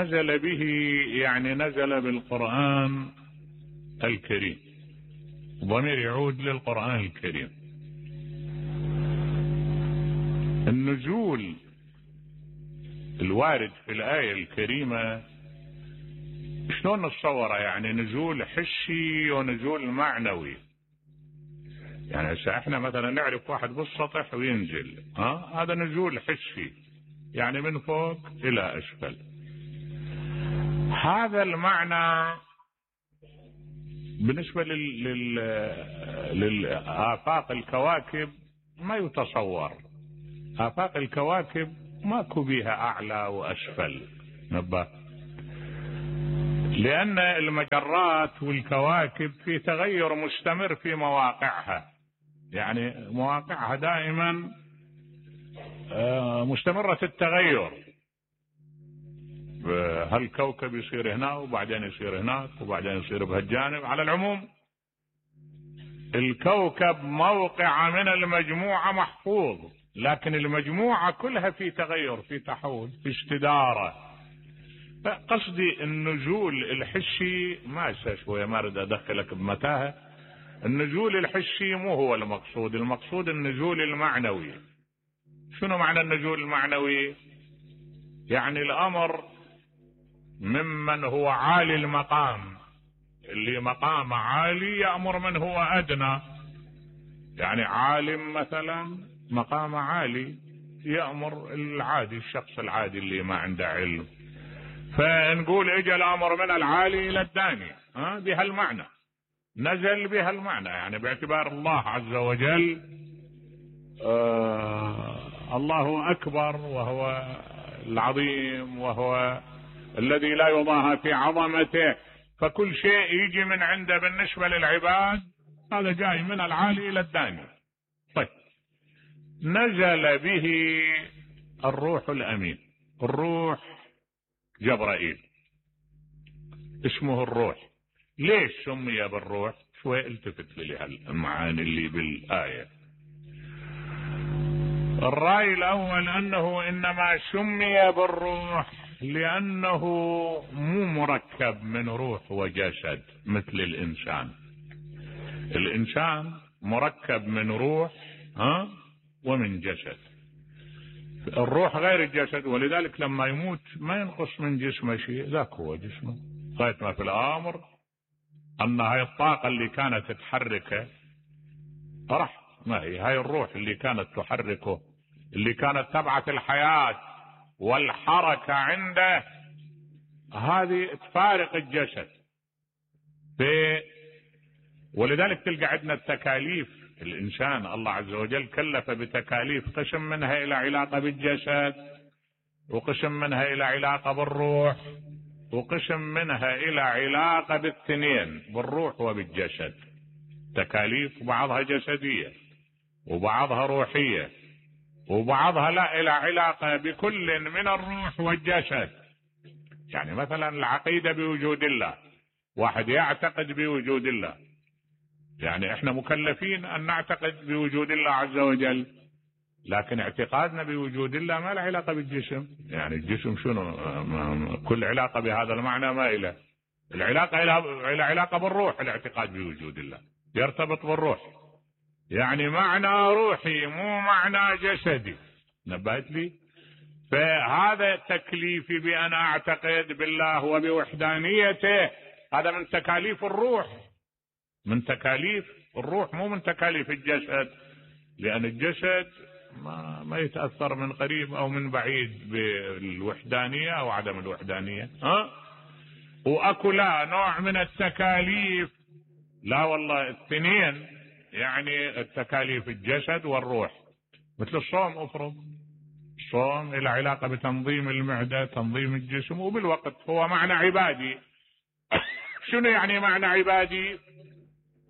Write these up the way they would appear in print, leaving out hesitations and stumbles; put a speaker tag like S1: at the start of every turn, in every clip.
S1: نزل به يعني نزل بالقرآن الكريم، ضمير يعود للقرآن الكريم. النزول الوارد في الآية الكريمة شلون نتصوره؟ يعني نزول حسي ونزول معنوي. يعني هسه احنا مثلا نعرف واحد بالسطح وينزل، هذا نزول حسي، يعني من فوق الى اسفل. هذا المعنى بالنسبة للآفاق الكواكب ما يتصور. آفاق الكواكب ماكو بيها أعلى وأسفل، نبه، لأن المجرات والكواكب في تغير مستمر في مواقعها، يعني مواقعها دائما مستمرة التغير. هالكوكب يصير هنا وبعدين يصير هناك وبعدين يصير بهالجانب. على العموم الكوكب موقع من المجموعة محفوظ، لكن المجموعة كلها في تغير، في تحول، في استدارة. فقصدي النزول الحسي ما شوية ما اريد ادخلك بمتاهة. النزول الحسي مو هو المقصود، المقصود النزول المعنوي. شنو معنى النزول المعنوي؟ يعني الامر ممن هو عالي المقام، اللي مقام عالي يأمر من هو ادنى. يعني عالم مثلا مقام عالي يأمر العادي، الشخص العادي اللي ما عنده علم. فنقول اجى الامر من العالي الى الداني، بهالمعنى نزل بهالمعنى، يعني باعتبار الله عز وجل الله اكبر وهو العظيم وهو الذي لا يضاهى في عظمته، فكل شيء يجي من عنده بالنسبة للعباد هذا جاي من العالي الى الداني. طيب، نزل به الروح الامين. الروح جبرائيل اسمه الروح. ليش سمي بالروح؟ شوي التفت لي هالمعاني اللي بالآية. الرأي الأول أنه إنما سمي بالروح لأنه مو مركب من روح وجسد مثل الإنسان. الإنسان مركب من روح ومن جسد. الروح غير الجسد، ولذلك لما يموت ما ينقص من جسمه شيء، ذاك هو جسمه. غاية ما في الأمر أن هاي الطاقة اللي كانت تحركه راح، ما هي هاي الروح اللي كانت تحركه، اللي كانت تبعث الحياة والحركة عنده، هذه تفارق الجسد. ولذلك تلقى عندنا التكاليف. الإنسان الله عز وجل كلف بتكاليف، قسم منها إلى علاقة بالجسد، وقسم منها إلى علاقة بالروح، وقسم منها إلى علاقة بالاثنين بالروح وبالجسد. تكاليف بعضها جسدية وبعضها روحية وبعضها لا إلى علاقة بكل من الروح والجسد. يعني مثلا العقيدة بوجود الله، واحد يعتقد بوجود الله، يعني احنا مكلفين ان نعتقد بوجود الله عز وجل، لكن اعتقادنا بوجود الله ما له علاقة بالجسم. يعني الجسم شنو؟ كل علاقة بهذا المعنى ما إله. العلاقة إلى علاقة بالروح. الاعتقاد بوجود الله يرتبط بالروح، يعني معنى روحي مو معنى جسدي. نبهت لي؟ فهذا تكليفي بأن أعتقد بالله وبوحدانيته، هذا من تكاليف الروح، من تكاليف الروح مو من تكاليف الجسد، لأن الجسد ما يتأثر من قريب أو من بعيد بالوحدانية أو عدم الوحدانية. وأكو لا نوع من التكاليف، لا والله الاثنين، يعني التكاليف الجسد والروح. مثل الصوم، افرض الصوم إلى علاقة بتنظيم المعدة، تنظيم الجسم، وبالوقت هو معنى عبادي. شنو يعني معنى عبادي؟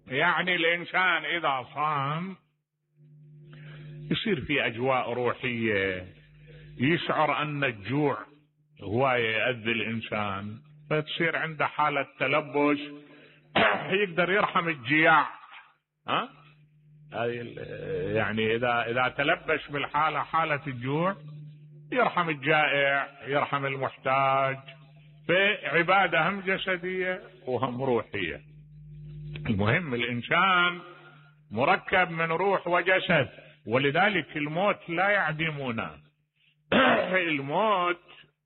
S1: يعني الإنسان إذا صام يصير في أجواء روحية، يشعر أن الجوع هو يأذي الإنسان، فتصير عنده حالة تلبس، يقدر يرحم الجياع. يعني إذا تلبس بالحالة، حالة الجوع، يرحم الجائع، يرحم المحتاج، فعبادة هم جسدية وهم روحية. المهم الإنسان مركب من روح وجسد، ولذلك الموت لا يعدمونه. الموت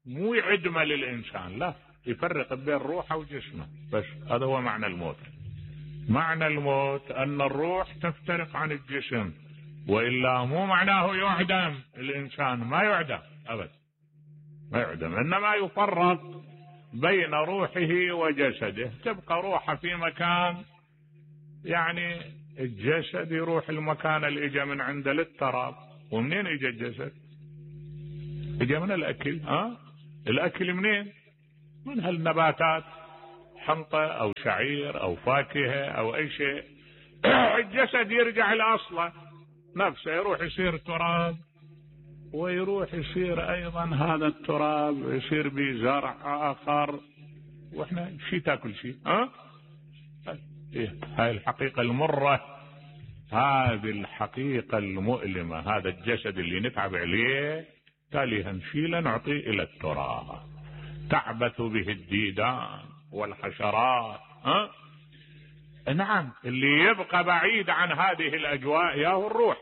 S1: مو يعدمه للإنسان، لا، يفرق بين روحه وجسمه بس. هذا هو معنى الموت. معنى الموت أن الروح تفترق عن الجسم، وإلا مو معناه يعدم الإنسان، ما يعدم أبدا، ما يعدم، إنما يفرق بين روحه وجسده. تبقى روحه في مكان، يعني الجسد يروح المكان اللي اجى من عنده للتراب. ومنين اجى الجسد؟ اجى من الأكل. الأكل منين؟ من هالنباتات، حنطة أو شعير أو فاكهة أو أي شيء. الجسد يرجع لأصله نفسه، يروح يصير تراب، ويروح يصير أيضا هذا التراب يصير بزرع آخر. وإحنا شي تاكل شي. هاي الحقيقة المرة، هذه الحقيقة المؤلمة. هذا الجسد اللي نتعب عليه تاليها نشيله نعطيه إلى التراب، تعبث به الديدان والحشرات. نعم، اللي يبقى بعيد عن هذه الأجواء ياهو الروح.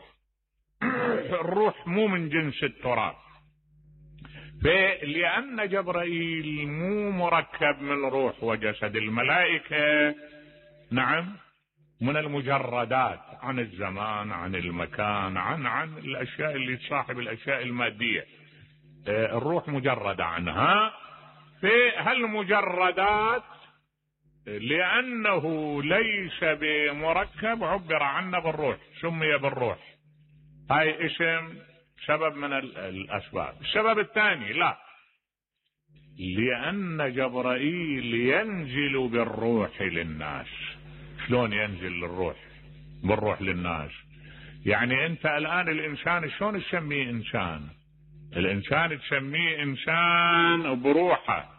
S1: الروح مو من جنس التراب. لأن جبرائيل مو مركب من روح وجسد. الملائكة نعم من المجردات عن الزمان، عن المكان، عن الأشياء اللي تصاحب الأشياء المادية. الروح مجردة عنها. في هالمجردات لأنه ليس بمركب عبر عنه بالروح، سمي بالروح. هاي اسم سبب من الأسباب. السبب الثاني لا، لأن جبرائيل ينزل بالروح للناس. شلون ينزل بالروح للناس؟ يعني أنت الآن الإنسان شلون تسميه إنسان؟ الإنسان تسميه إنسان بروحه،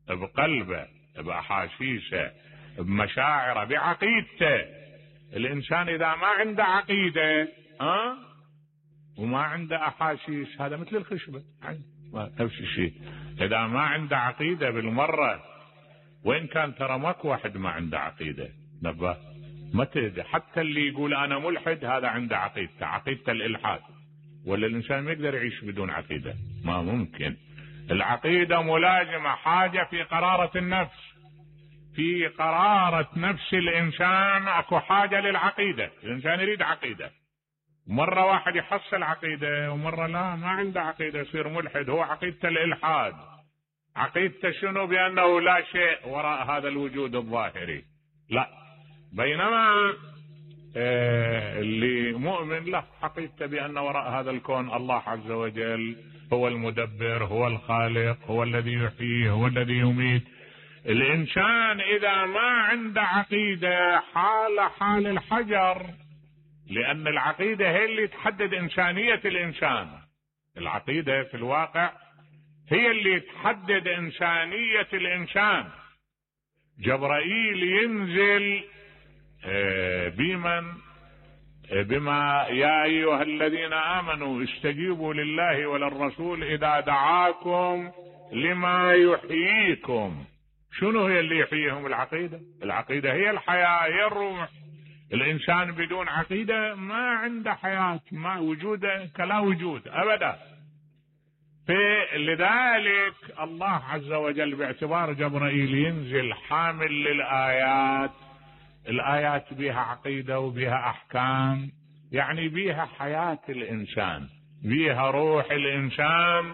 S1: بقلبه، بأحاسيسه، بمشاعره، بعقيدته. الإنسان إذا ما عنده عقيدة وما عنده أحاسيس، هذا مثل الخشبة، نفس الشيء. إذا ما عنده عقيدة بالمرة، وإن كان ترى ماكو واحد ما عنده عقيدة، نبه ما تهدى. حتى اللي يقول أنا ملحد هذا عنده عقيدته، عقيدة الإلحاد. ولا الإنسان ما يقدر يعيش بدون عقيدة، ما ممكن. العقيدة ملازمة، حاجة في قرارة النفس. في قرارة نفس الإنسان أكو حاجة للعقيدة. الإنسان يريد عقيدة. مرة واحد يحصل عقيدة ومرة لا، ما عنده عقيدة، يصير ملحد. هو عقيدة الإلحاد. عقيدته شنو؟ بأنه لا شيء وراء هذا الوجود الظاهري. لا، بينما اللي مؤمن له عقيدته بأن وراء هذا الكون الله عز وجل هو المدبر، هو الخالق، هو الذي يحيي، هو الذي يميت. الإنسان إذا ما عنده عقيدة حال الحجر، لأن العقيدة هي اللي تحدد إنسانية الإنسان. العقيدة في الواقع هي اللي تحدد إنسانية الإنسان. جبرائيل ينزل بما يا أيها الذين آمنوا استجيبوا لله وللرسول إذا دعاكم لما يحييكم. شنو هي اللي يحييهم؟ العقيدة. العقيدة هي الحياة، هي الروح. الإنسان بدون عقيدة ما عنده حياة، ما وجوده كلا وجود أبدا. لذلك الله عز وجل باعتبار جبرائيل ينزل حامل للآيات. الآيات بها عقيدة وبها أحكام، يعني بها حياة الإنسان، بها روح الإنسان.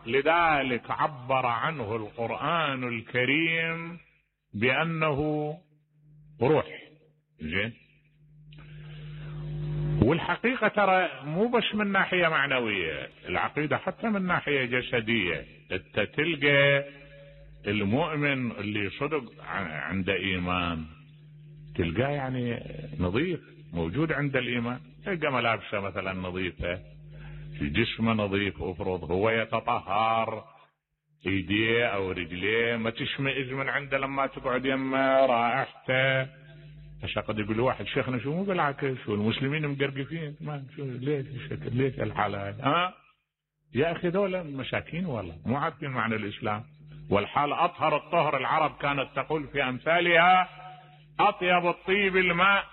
S1: لذلك عبر عنه القرآن الكريم بأنه روح. زين. والحقيقة ترى مو بس من ناحية معنوية، العقيدة حتى من ناحية جسدية. انت تلقى المؤمن اللي صدق عنده إيمان، تلقاه يعني نظيف، موجود عند الإيمان. تلقى ملابسه مثلا نظيفة، جسمه نظيف، افرض هو يتطهر، ايديه او رجليه ما تشمئز من عنده لما تقعد يمه، رائحته. هسه قد يقول واحد شيخنا شو مو بالعكس والمسلمين مقرقفين، ما شو ليش الشكل، ليش الحالة هاي؟ يا اخي دول مساكين والله مو عارفين معنى الاسلام. والحال أطهر الطهر. العرب كانت تقول في أمثالها أطيب الطيب الماء.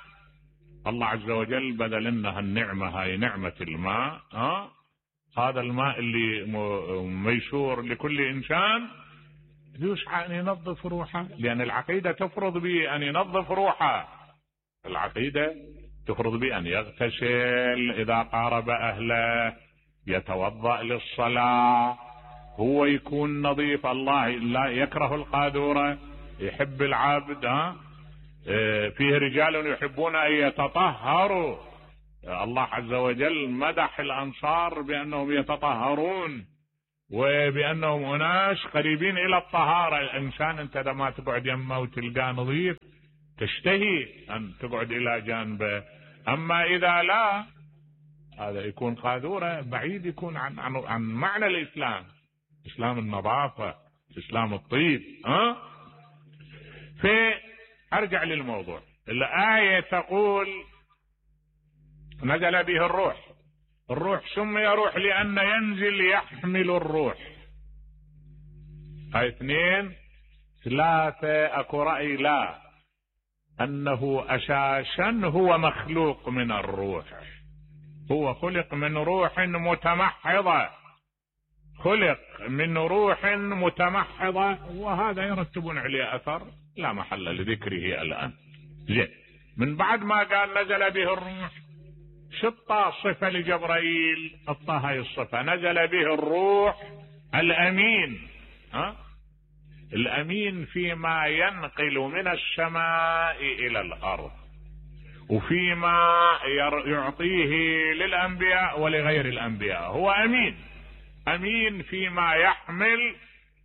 S1: الله عز وجل بذل لنا هالنعمة، هاي نعمة الماء. هذا الماء اللي ميسور لكل إنسان يسعى أن ينظف روحه، لأن العقيدة تفرض به أن ينظف روحه. العقيدة تفرض به أن يغتسل إذا قارب أهله، يتوضأ للصلاة، هو يكون نظيف. الله لا يكره القاذورة، يحب العبد. فيه رجال يحبون أن يتطهروا. الله عز وجل مدح الأنصار بأنهم يتطهرون وبأنهم أناس قريبين إلى الطهارة. الإنسان أنت لما تقعد يمه وتلقاه نظيف تشتهي أن تقعد إلى جانبه، أما إذا لا هذا يكون قاذورة، بعيد يكون عن معنى الإسلام، إسلام النظافة، إسلام الطيب. فأرجع للموضوع. الآية تقول نزل به الروح. الروح سمي روح لأن ينزل يحمل الروح. هاي 2. 3 أكو رأي لا، أنه أساسا هو مخلوق من الروح، هو خلق من روح متمحضة، خلق من روح متمحضة، وهذا يرتبون عليه أثر لا محل لذكره الآن. زين، من بعد ما قال نزل به الروح شطة صفة لجبرائيل، هاي الصفة نزل به الروح الأمين. الأمين فيما ينقل من السماء إلى الأرض، وفيما يعطيه للأنبياء ولغير الأنبياء، هو أمين. أمين فيما يحمل،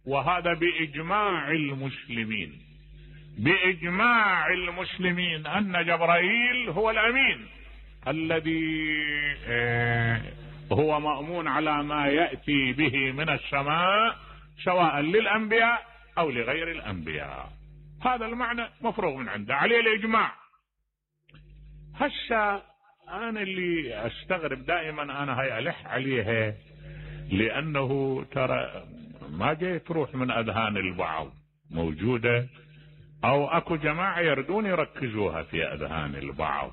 S1: وهذا بإجماع المسلمين، بإجماع المسلمين أن جبرائيل هو الأمين الذي هو مأمون على ما يأتي به من السماء سواء للأنبياء أو لغير الأنبياء. هذا المعنى مفروغ من عنده، عليه الإجماع. هسه أنا اللي أستغرب دائما، أنا هاي ألح عليها لأنه ترى ما جاي تروح من أذهان البعض، موجودة أو أكو جماعة يردون يركزوها في أذهان البعض،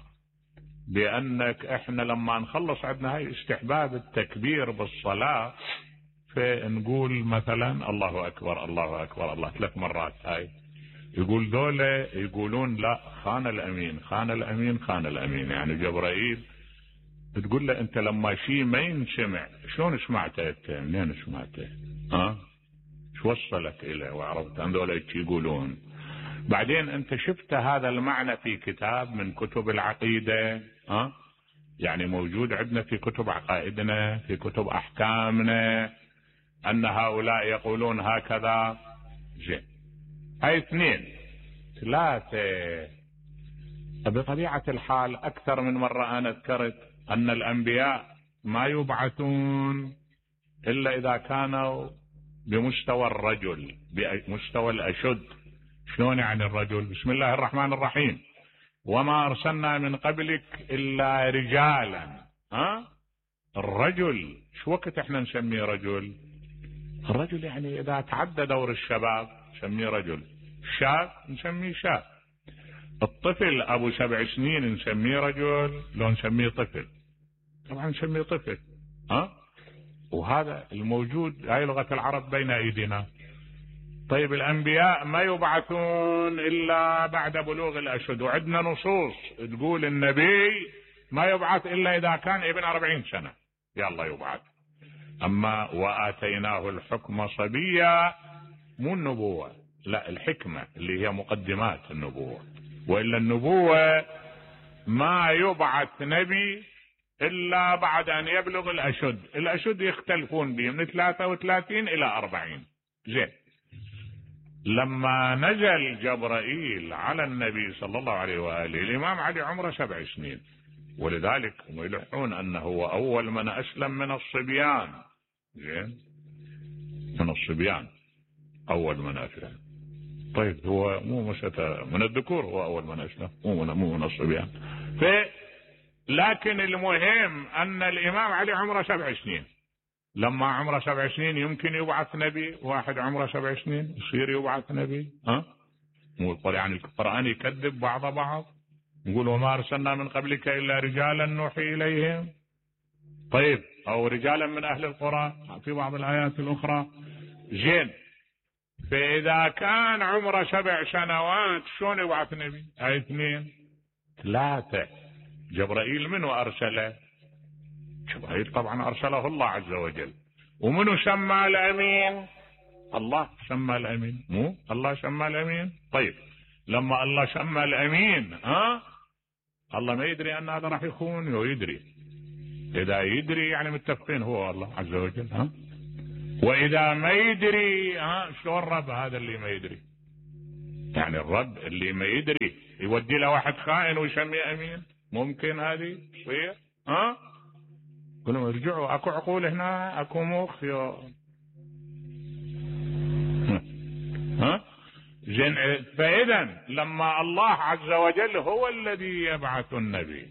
S1: بأنك إحنا لما نخلص عندنا هاي استحباب التكبير بالصلاة، فنقول مثلا الله أكبر الله أكبر الله 3 مرات. هاي يقول ذولا يقولون لا، خان الأمين خان الأمين خان الأمين، يعني جبرائيل بتقول له أنت لما شيء ما ينسمع شلون سمعته أنت؟ منين سمعته؟ شو وصلك إليه وعرفت أن ذولا يقولون؟ بعدين أنت شفت هذا المعنى في كتاب من كتب العقيدة؟ يعني موجود عندنا في كتب عقائدنا، في كتب أحكامنا، أن هؤلاء يقولون هكذا. زين، هاي 2. 3 بطبيعة الحال أكثر من مرة أنا ذكرت أن الأنبياء ما يبعثون إلا إذا كانوا بمستوى الرجل، بمستوى الأشد. شلون يعني الرجل؟ بسم الله الرحمن الرحيم، وما أرسلنا من قبلك إلا رجالا. الرجل شو وقت احنا نسميه رجل؟ الرجل يعني إذا تعدى دور الشباب نسميه رجل، الشاب نسميه شاب، الطفل أبو 7 سنين نسميه رجل لو نسميه طفل؟ طبعا نسميه طفل. وهذا الموجود، هاي لغة العرب بين أيدينا. طيب الأنبياء ما يبعثون إلا بعد بلوغ الأشد، وعندنا نصوص تقول النبي ما يبعث إلا إذا كان ابن 40 سنة يلا يبعث. أما وآتيناه الحكم صبيا، مو النبوة، لا الحكمة اللي هي مقدمات النبوة، وإلا النبوة ما يبعث نبي إلا بعد أن يبلغ الأشد. الأشد يختلفون به من 33 إلى 40. زين، لما نزل جبرائيل على النبي صلى الله عليه وآله الإمام علي عمره 7 سنين، ولذلك هم يلحون أنه هو أول من أسلم من الصبيان. زين، من الصبيان أول من أسلم. طيب هو مو من الذكور، هو أول من أسلم، مو من الصبيان. لكن المهم أن الإمام علي عمره 7 سنين، لما عمره 7 سنين يمكن يبعث نبي؟ واحد عمره 7 سنين يصير يبعث نبي؟ مو يعني القرآن يكذب بعض. يقول وما أرسلنا من قبلك إلا رجالا نوحي إليهم. طيب أو رجالا من أهل القرى في بعض الآيات الأخرى. زين، فإذا كان عمره 7 سنوات شلون يبعث نبي؟ 2 3. جبرائيل منو أرسله؟ جبرائيل طبعا أرسله الله عز وجل. ومنو سمى الأمين؟ الله سمى الأمين، مو الله سمى الأمين؟ طيب لما الله سمى الأمين الله ما يدري أن هذا راح يخون؟ ويدري. إذا يدري يعني متفقين هو الله عز وجل. وإذا ما يدري شلون الرب هذا اللي ما يدري؟ يعني الرب اللي ما يدري يودي له واحد خائن ويسميه أمين؟ ممكن هذه تصير؟ قلوا ارجعوا، اكو عقول هنا، اكو مخ زين. فإذا لما الله عز وجل هو الذي يبعث النبي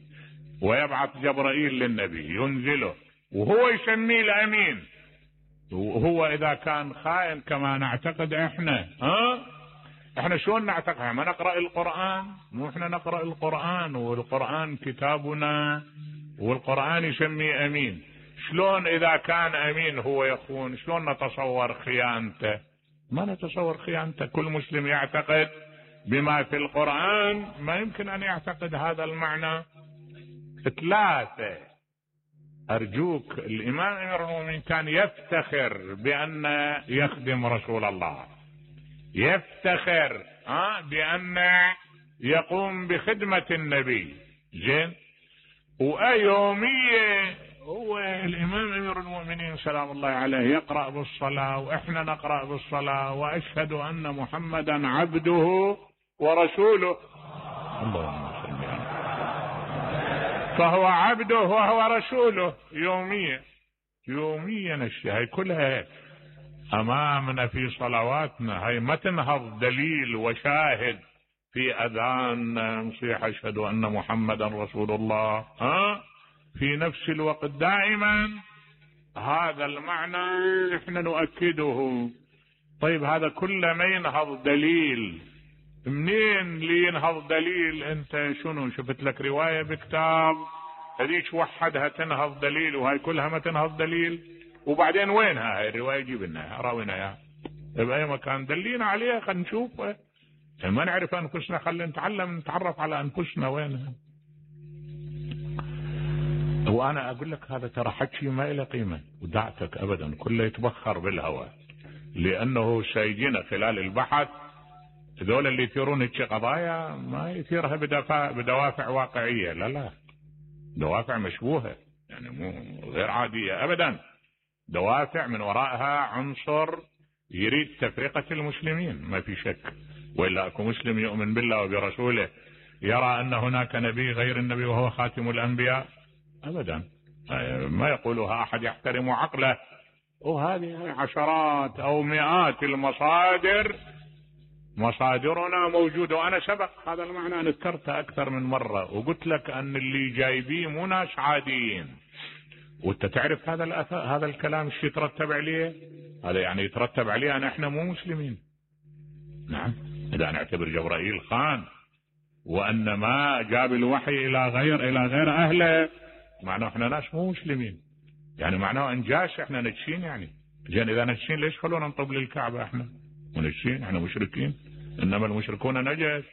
S1: ويبعث جبرائيل للنبي ينزله وهو يسميه الأمين، وهو إذا كان خائن كما نعتقد احنا شلون نعتقد؟ ما نقرأ القرآن؟ مو احنا نقرأ القرآن والقرآن كتابنا والقرآن يسميه أمين. شلون إذا كان أمين هو يخون؟ شلون نتصور خيانته؟ ما نتصور خيانته. كل مسلم يعتقد بما في القرآن، ما يمكن أن يعتقد هذا المعنى. 3. أرجوك، الإمام أمير المؤمنين كان يفتخر بأن يخدم رسول الله، يفتخر بأن يقوم بخدمة النبي. زين، وأيومية هو الإمام أمير المؤمنين سلام الله عليه يقرأ بالصلاة وإحنا نقرأ بالصلاة، وأشهد أن محمدا عبده ورسوله. اللهم صل على، فهو عبده وهو رسوله يوميا هاي كلها أمامنا في صلواتنا. هاي ما تنهض دليل وشاهد في أذان نصيح أشهد أن محمدا رسول الله في نفس الوقت دائما هذا المعنى احنا نؤكده. طيب هذا كله ما ينهض دليل، منين لي ينهض دليل؟ انت شنو شفت لك رواية بكتاب هذيك وحدها تنهض دليل وهاي كلها ما تنهض دليل؟ وبعدين وينها هاي الرواية؟ جيب لنا راوينا اياها بأي مكان، دلينا عليها خلينا نشوفها. ما نعرف أنفسنا خلينا نتعلم نتعرف على أنفسنا وينها. وأنا أقول لك هذا ترى حكي ما له قيمة ودعتك أبدا، كله يتبخر بالهواء، لأنه سيجينا خلال البحث ذول اللي يثيرون قضايا ما يثيرها بدوافع واقعية، لا دوافع مشبوهة يعني مو غير عادية أبدا، دوافع من وراءها عنصر يريد تفرقة المسلمين ما في شك. وإلا أكو مسلم يؤمن بالله وبرسوله يرى أن هناك نبي غير النبي وهو خاتم الأنبياء؟ أبدا، ما يقولها أحد يحترم عقله. وهذه عشرات أو مئات المصادر، مصادرنا موجودة. وأنا سبق هذا المعنى أنا ذكرته أكثر من مرة وقلت لك أن اللي جايبيه مو ناس عاديين. وأنت تعرف هذا الكلام ايش يترتب عليه؟ هذا يعني يترتب عليه أن احنا مو مسلمين. نعم، إذا نعتبر جبرائيل خان وأن ما جاب الوحي إلى غير أهله، معناه احنا ناس مو مسلمين، يعني معناه انجاش احنا نجسين. يعني زين إذا نجسين ليش خلونا نطب للكعبة؟ احنا ونجسين، احنا مشركين، إنما المشركون نجس.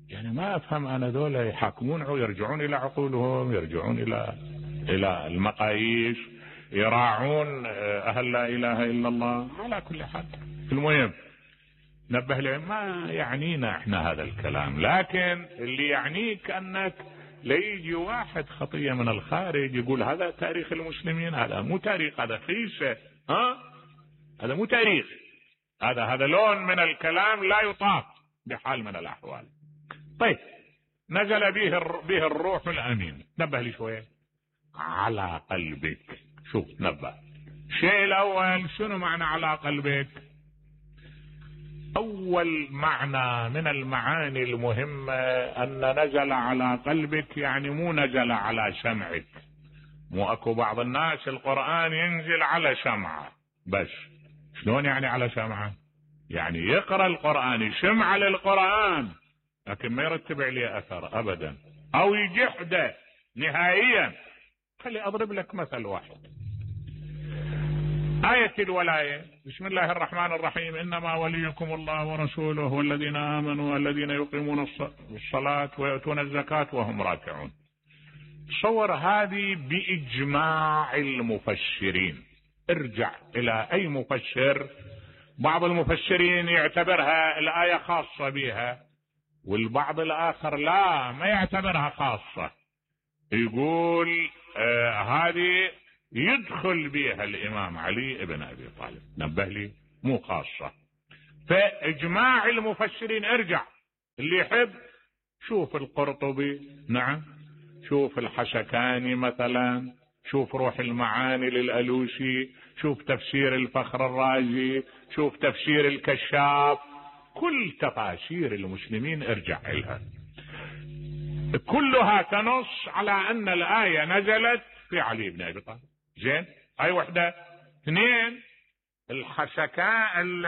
S1: يعني ما أفهم أنا ذولا يحاكمون يرجعون إلى عقولهم، يرجعون إلى المقاييس، يراعون أهل لا إله إلا الله. على كل حال المهم نبه لهم ما يعنينا احنا هذا الكلام، لكن اللي يعنيك أنك ليجي واحد خطية من الخارج يقول هذا تاريخ المسلمين. هذا مو تاريخ، هذا خيسة. هذا مو تاريخ، هذا لون من الكلام لا يطاق بحال من الأحوال. طيب نزل به الروح الأمين. نبه لي شوية على قلبك. شوف نبه الشيء الأول شنو معنى على قلبك؟ أول معنى من المعاني المهمة أن نزل على قلبك يعني مو نزل على سمعك، مو اكو بعض الناس القرآن ينزل على شمعة بس. شلون يعني على شمعة؟ يعني يقرأ القرآن يشمع للقرآن لكن ما يرتب عليه اثر ابدا او يجحده نهائيا. خلي اضرب لك مثل واحد. آية الولاية، بسم الله الرحمن الرحيم، انما وليكم الله ورسوله والذين امنوا الذين يقيمون الصلاة ويؤتون الزكاة وهم راكعون. تصور هذه باجماع المفسرين. ارجع الى اي مفسر، بعض المفسرين يعتبرها الآية خاصة بها والبعض الاخر لا ما يعتبرها خاصة، يقول هذه يدخل بها الامام علي ابن ابي طالب. نبه لي مو خاصة. فاجماع المفسرين ارجع اللي يحب شوف القرطبي، نعم، شوف الحشكاني مثلا، شوف روح المعاني للألوسي، شوف تفسير الفخر الرازي، شوف تفسير الكشاف، كل تفاسير المسلمين ارجع لها، كلها تنص على ان الآية نزلت في علي بن ابي طالب. زين، هاي وحدة. اثنين، الحشكان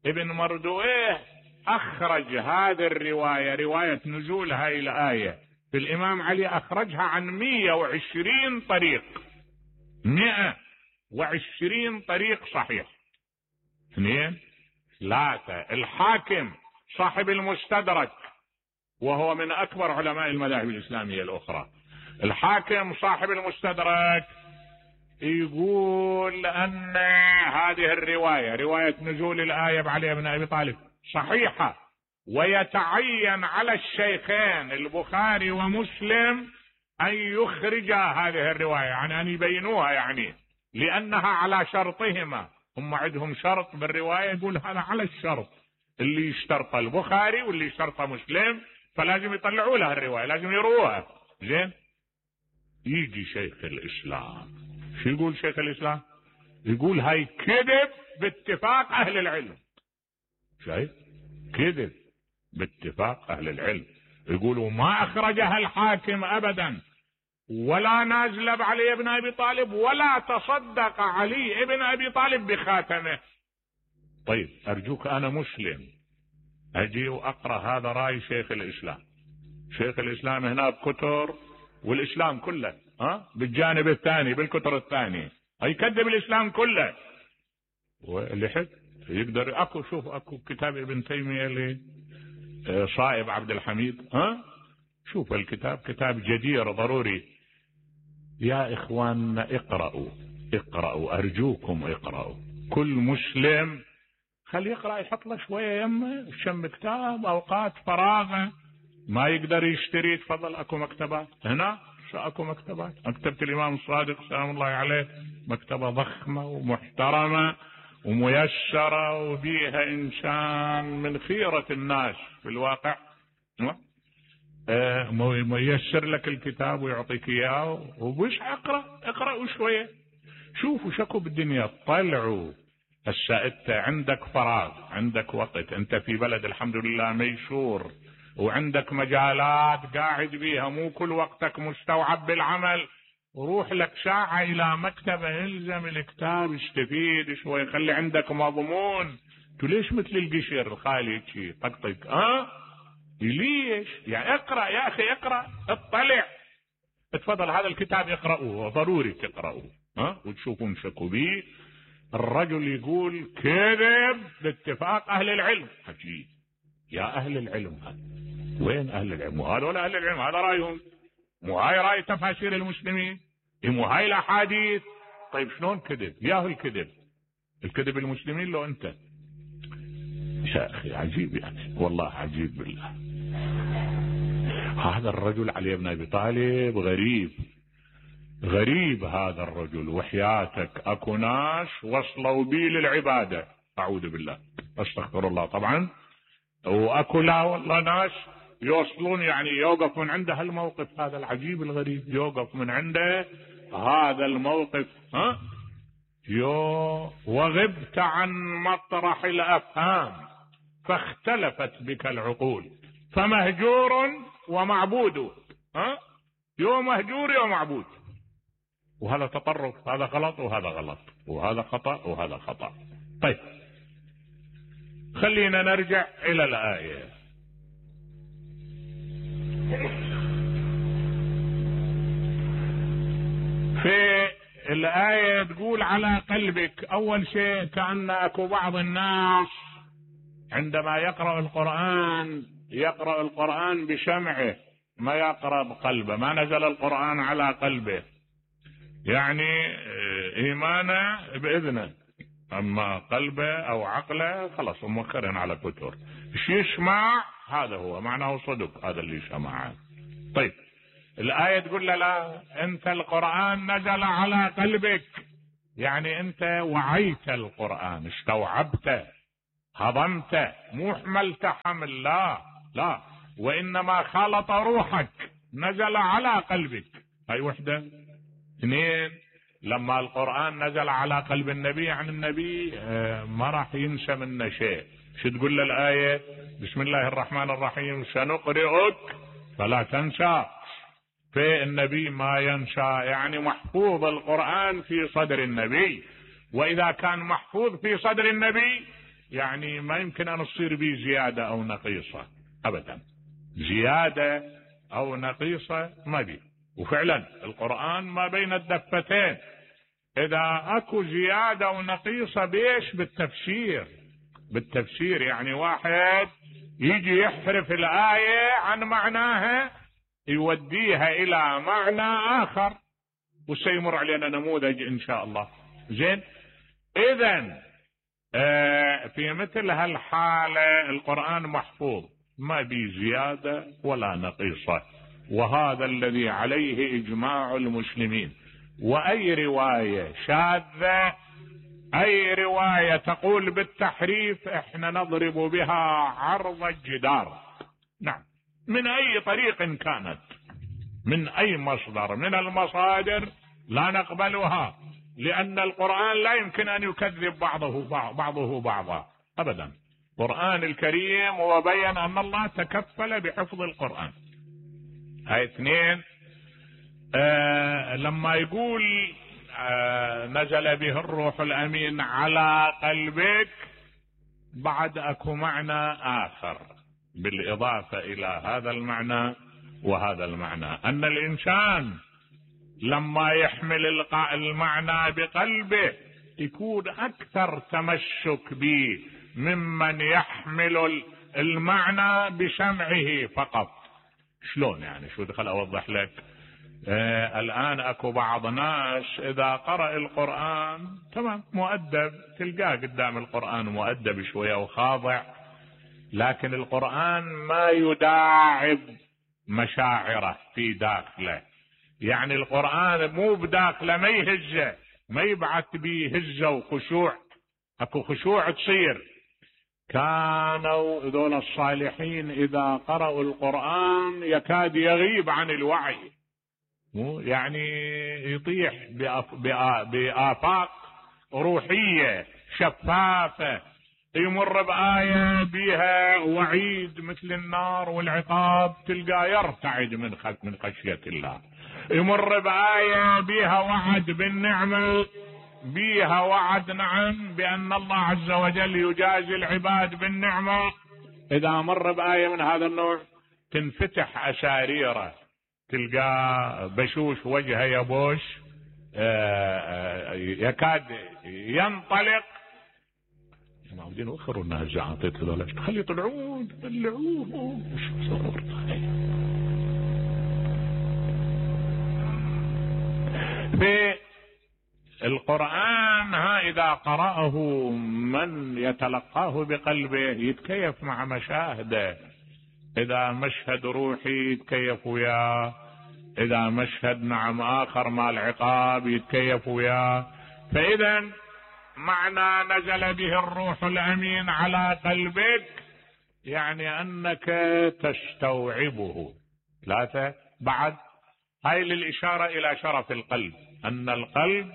S1: ابن مردويه اخرج هذه الرواية، رواية نزول هاي الآية في الامام علي، اخرجها عن 120 طريق، 120 طريق صحيح. اثنين. ثلاثة، الحاكم صاحب المستدرك وهو من اكبر علماء المذاهب الاسلامية الاخرى، الحاكم صاحب المستدرك يقول ان هذه الرواية، رواية نزول الآية بعلي بن ابي طالب، صحيحة، ويتعين على الشيخين البخاري ومسلم ان يخرجا هذه الرواية، يعني ان يبينوها، يعني لانها على شرطهما. هم عندهم شرط بالرواية، يقول هذا على الشرط اللي يشترط البخاري واللي يشترط مسلم، فلازم يطلعوا لها الرواية، لازم يروها. زين، يجي شيخ الاسلام، شو يقول شيخ الاسلام؟ يقول هاي كذب باتفاق اهل العلم. شايف؟ كذب باتفاق اهل العلم. يقولوا ما اخرجها الحاكم ابدا، ولا نازل بعلي بن ابي طالب، ولا تصدق علي بن ابي طالب بخاتمه. طيب ارجوك، انا مسلم اجي واقرا هذا راي شيخ الاسلام. شيخ الاسلام هنا بكتر، والاسلام كله بالجانب الثاني بالكتر الثاني يكذب الاسلام كله. واللي حد يقدر، اكو كتاب ابن تيمية لصائب عبد الحميد، شوف الكتاب، كتاب جدير ضروري. يا اخواننا اقرأوا ارجوكم اقرأوا. كل مسلم خل يقرأ، يحط له شوية يمه شم كتاب، اوقات فراغه ما يقدر يشتري، تفضل اكو مكتبات هنا، اكو مكتبات. مكتبة الامام الصادق سلام الله عليه مكتبة ضخمة ومحترمة وميسرة، وبيها انسان من خيرة الناس في الواقع، ميسر لك الكتاب ويعطيك اياه، وبش اقرأوا شوية، شوفوا شكو بالدنيا، طلعوا. هسه انت عندك فراغ، عندك وقت، انت في بلد الحمد لله ميسور، وعندك مجالات قاعد بيها، مو كل وقتك مستوعب بالعمل، وروح لك ساعة الى مكتبة، الزم الكتاب، استفيد شوي، خلي عندك مضمون. تو ليش مثل القشر الخالي شي طقطق؟ ليش؟ يعني اقرأ يا اخي، اقرأ، اطلع، اتفضل هذا الكتاب اقرأوه، ضروري تقرأوه وتشوفون شكو بيه. الرجل يقول كذب باتفاق اهل العلم. عجيب، يا اهل العلم، وين اهل العلم؟ وهذول اهل العلم، هذا رايهم، مو هاي راي تفاسير المسلمين، مو هاي الاحاديث. طيب شلون كذب؟ ياهو الكذب المسلمين لو انت. يا اخي عجيب، يعني والله عجيب بالله. هذا الرجل علي بن ابي طالب غريب هذا الرجل، وحياتك اكو ناس وصلوا بي للعبادة، اعوذ بالله استغفر الله طبعا، واكو لا والله ناس يوصلون، يعني يوقف من عنده هالموقف هذا العجيب الغريب، يوقف من عنده هذا الموقف. وغبت عن مطرح الافهام فاختلفت بك العقول، فمهجور ومعبود. يوم مهجور يوم معبود، وهذا تطرف، هذا غلط وهذا غلط، وهذا خطأ وهذا خطأ. طيب خلينا نرجع إلى الآية. في الآية تقول على قلبك. أول شيء كأن أكو بعض الناس عندما يقرأ القرآن بشمعه، ما يقرأ بقلبه، ما نزل القرآن على قلبه، يعني إيمانه بإذنه، أما قلبه أو عقله خلاص موكرين على كتر. ايش يسمع هذا هو معناه صدق، هذا اللي سمعه. طيب الآية تقول له لا، أنت القرآن نزل على قلبك، يعني أنت وعيت القرآن، استوعبته، هضمته، مو حملته حمل، لا، وإنما خالط روحك، نزل على قلبك. هاي وحدة. اثنين، لما القرآن نزل على قلب النبي، يعني النبي ما راح ينسى منه شيء. شو تقول له الآية؟ بسم الله الرحمن الرحيم، سنقرئك فلا تنسى. في النبي ما ينسى، يعني محفوظ القرآن في صدر النبي، وإذا كان محفوظ في صدر النبي يعني ما يمكن أن تصير به زيادة أو نقيصة أبدا، زيادة أو نقيصة ما بي. وفعلا القرآن ما بين الدفتين، إذا أكو زيادة ونقيصة بيش؟ بالتفسير، يعني واحد يجي يحرف الآية عن معناها يوديها إلى معنى آخر، وسيمر علينا نموذج إن شاء الله. زين، إذن في مثل هالحالة القرآن محفوظ، ما بي زيادة ولا نقيصة، وهذا الذي عليه إجماع المسلمين. وأي رواية شاذة، أي رواية تقول بالتحريف، احنا نضرب بها عرض الجدار. نعم، من أي طريق كانت، من أي مصدر من المصادر لا نقبلها، لأن القرآن لا يمكن أن يكذب بعضه بعضا أبدا. القرآن الكريم وبين أن الله تكفل بحفظ القرآن. هاي اثنين. لما يقول نزل به الروح الأمين على قلبك، بعد أكو معنى آخر بالإضافة إلى هذا المعنى وهذا المعنى، أن الإنسان لما يحمل المعنى بقلبه يكون أكثر تمسك به ممن يحمل المعنى بسمعه فقط. شلون يعني؟ شو دخل أوضح لك. الآن أكو بعض ناس إذا قرأ القرآن تمام مؤدب، تلقاه قدام القرآن مؤدب شوية وخاضع، لكن القرآن ما يداعب مشاعره في داخله، يعني القرآن مو بداخله، ما يهزه، ما يبعث به هزة وخشوع. اكو خشوع تصير. كانوا ذول الصالحين إذا قرأوا القرآن يكاد يغيب عن الوعي، يعني يطيح بآفاق روحية شفافة، يمر بآية بها وعيد مثل النار والعقاب تلقى يرتعد من خشية الله، يمر بآية بها وعد بالنعمة، بها وعد نعم بأن الله عز وجل يجازي العباد بالنعمة. إذا مر بآية من هذا النوع تنفتح أساريره، تلقى بشوش وجهه يبوش، يكاد ينطلق. معودين وخروا الناس زعاطيت هذول، خلي يطلعون في القرآن. إذا قرأه من يتلقاه بقلبه يتكيف مع مشاهده، إذا مشهد روحي يتكيف وياه، إذا مشهد نعم آخر مع العقاب يتكيف وياه. فإذا معنى نزل به الروح الأمين على قلبك يعني أنك تستوعبه. ثلاثة بعد، هاي للإشارة إلى شرف القلب، أن القلب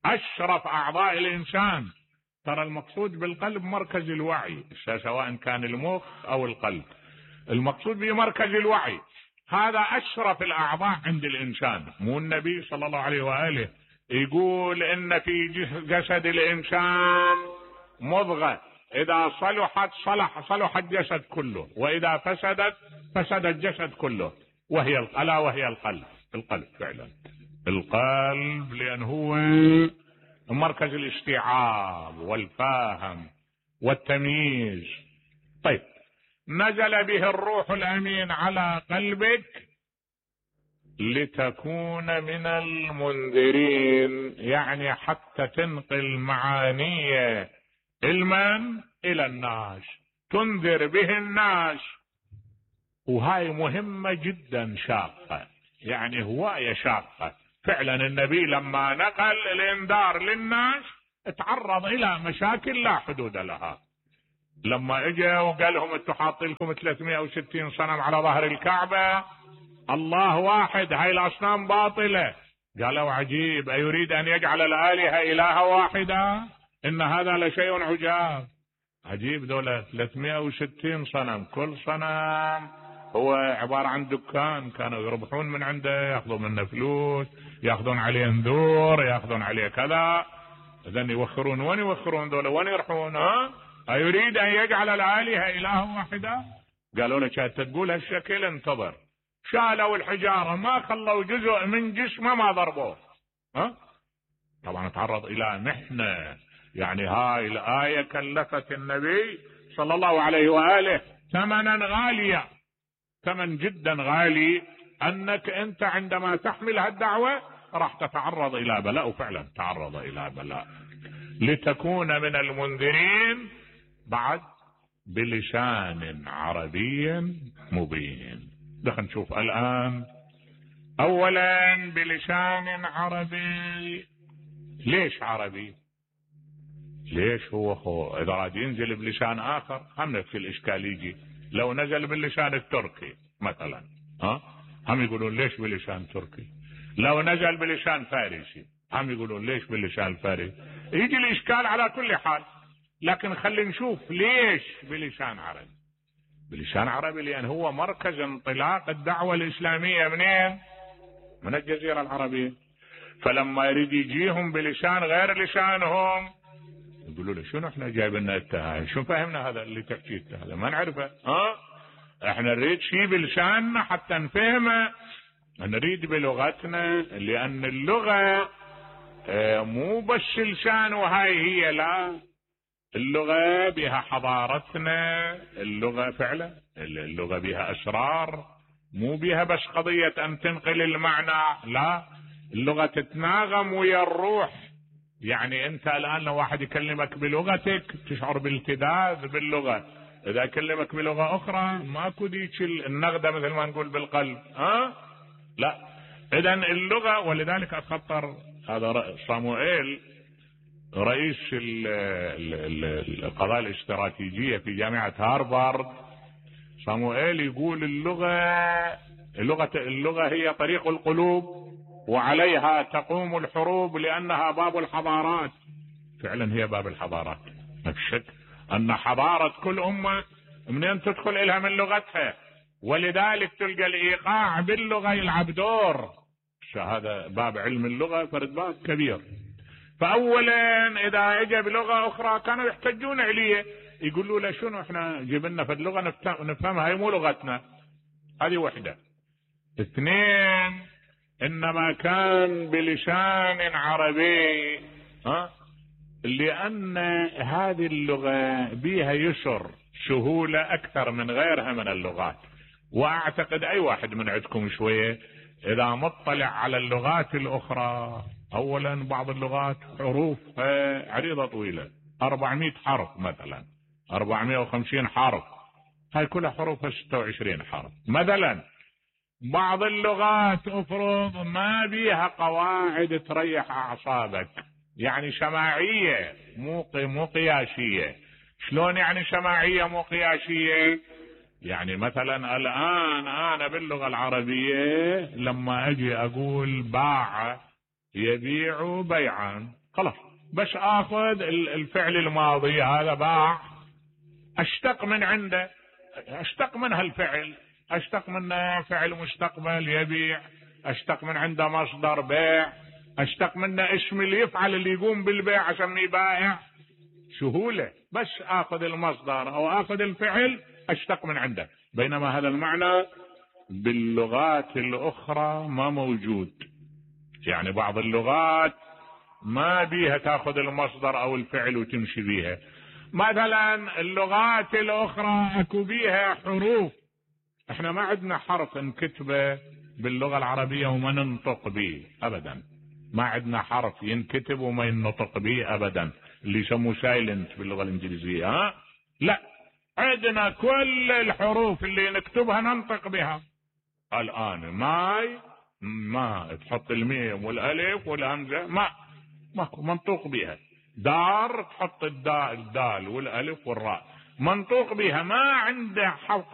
S1: أشرف أعضاء الإنسان. ترى المقصود بالقلب مركز الوعي، سواء كان المخ أو القلب، المقصود به مركز الوعي. هذا أشرف الأعضاء عند الإنسان. مو النبي صلى الله عليه وآله يقول إن في جسد الإنسان مضغة إذا صلحت صلح الجسد كله، وإذا فسدت فسد الجسد كله، وهي ألا وهي القلب. القلب فعلا القلب، لأن هو مركز الاستيعاب والفهم والتمييز. طيب، نزل به الروح الأمين على قلبك لتكون من المنذرين، يعني حتى تنقل معاني علما إلى الناس، تنذر به الناس. وهاي مهمة جدا شاقة، يعني هواية شاقة فعلا. النبي لما نقل الانذار للناس اتعرض إلى مشاكل لا حدود لها. لما اجى وقال لهم انتم حاطين لكم 360 صنم على ظهر الكعبة، الله واحد، هاي الأصنام باطلة. قالوا عجيب، أيريد أن يجعل الآلهة إلها واحدة؟ إن هذا لشيء عجاب. عجيب، دولة 360 صنم، كل صنم هو عبارة عن دكان كانوا يربحون من عنده، ياخذون منه فلوس، ياخذون عليه نذور، ياخذون عليه كذا. إذن يوخرون، وين يوخرون دولة؟ وين يروحون؟ أيريد أن يجعل الآلهة إله واحدة؟ قالوا له كانت تقول هالشكل انتظر. شالوا الحجارة، ما خلوا جزء من جسمه ما ضربوه. طبعا تعرض إلى محنة. يعني هاي الآية كلفت النبي صلى الله عليه وآله ثمنا غاليا، ثمن جدا غالي، أنك أنت عندما تحمل هالدعوة راح تتعرض إلى بلاء. وفعلا تعرض إلى بلاء. لتكون من المنذرين، بعد بلسان عربي مبين. دخل نشوف الآن. أولا بلسان عربي. ليش عربي؟ ليش هو إذا راد ينزل بلسان آخر هم نفس الإشكال يجي. لو نزل باللسان التركي مثلا، هم يقولون ليش بلسان تركي. لو نزل بلسان فارسي هم يقولون ليش باللسان الفارسي. يجي الإشكال على كل حال. لكن خلينا نشوف ليش بلسان عربي. بلسان عربي لأن هو مركز انطلاق الدعوة الإسلامية. منين؟ من الجزيرة العربية. فلما يريد يجيهم بلسان غير لسانهم يقولوا له شنو احنا جايب لنا التهاي، شو فهمنا هذا اللي تحكيه هذا ما نعرفه. احنا نريد شيء بلساننا حتى نفهمه، نريد بلغتنا، لأن اللغة مو بس لسان وهاي هي، لا، اللغة بها حضارتنا، اللغة فعلا اللغة بها أسرار، مو بها بس قضية أن تنقل المعنى، لا، اللغة تتناغم ويا الروح. يعني أنت الآن لو واحد يكلمك بلغتك تشعر بالتذاذ باللغة، إذا كلمك بلغة أخرى ماكو ديك النغدة مثل ما نقول بالقلب. لا، إذن اللغة. ولذلك أتخطر هذا صاموئيل رئيس القضايا الاستراتيجية في جامعة هارفارد، صاموئيل يقول اللغة هي طريق القلوب وعليها تقوم الحروب لأنها باب الحضارات. فعلا هي باب الحضارات، ما في شك أن حضارة كل أمة منين تدخل إلها من لغتها. ولذلك تلقى الإيقاع باللغة يلعب دور. هذا باب علم اللغة فرد باب كبير. فأولا إذا اجى بلغة أخرى كانوا يحتجون عليه، يقولوا له شنو احنا جبنا في اللغة نفهمها، هي مو لغتنا. هذه وحدة. اثنين، إنما كان بلسان عربي، لأن هذه اللغة بها يسر، سهولة أكثر من غيرها من اللغات. وأعتقد أي واحد من عندكم شوية إذا مطلع على اللغات الأخرى، أولا بعض اللغات حروف عريضة طويلة، 400 حرف مثلا، 450 حرف، هاي كلها حروفها 26 حرف مثلا. بعض اللغات افرض ما بيها قواعد تريح اعصابك، يعني سماعية مو قياسية. شلون يعني سماعية مو قياسية؟ يعني مثلا الان انا باللغة العربية لما اجي اقول باع يبيع بيعا، خلاص بس اخذ الفعل الماضي هذا باع، اشتق من عنده، اشتق من هالفعل، اشتق منه فعل مستقبل يبيع، اشتق من عنده مصدر بيع، اشتق منه اسم اللي يفعل اللي يقوم بالبيع اسميه بائع. سهولة، بس اخذ المصدر او اخذ الفعل اشتق من عنده. بينما هذا المعنى باللغات الاخرى ما موجود. يعني بعض اللغات ما بيها تاخذ المصدر او الفعل وتمشي بيها. مثلا اللغات الاخرى اكو بيها حروف، احنا ما عندنا حرف نكتبه باللغة العربية وما ننطق به ابدا. ما عندنا حرف ينكتب وما ينطق به ابدا، اللي يسموه سايلنت باللغة الانجليزية. لا، عندنا كل الحروف اللي نكتبها ننطق بها. الان ماي، ما تحط الميم والالف والهمزة ما منطوق بها. دار تحط الدال والالف والراء منطوق بها، ما عنده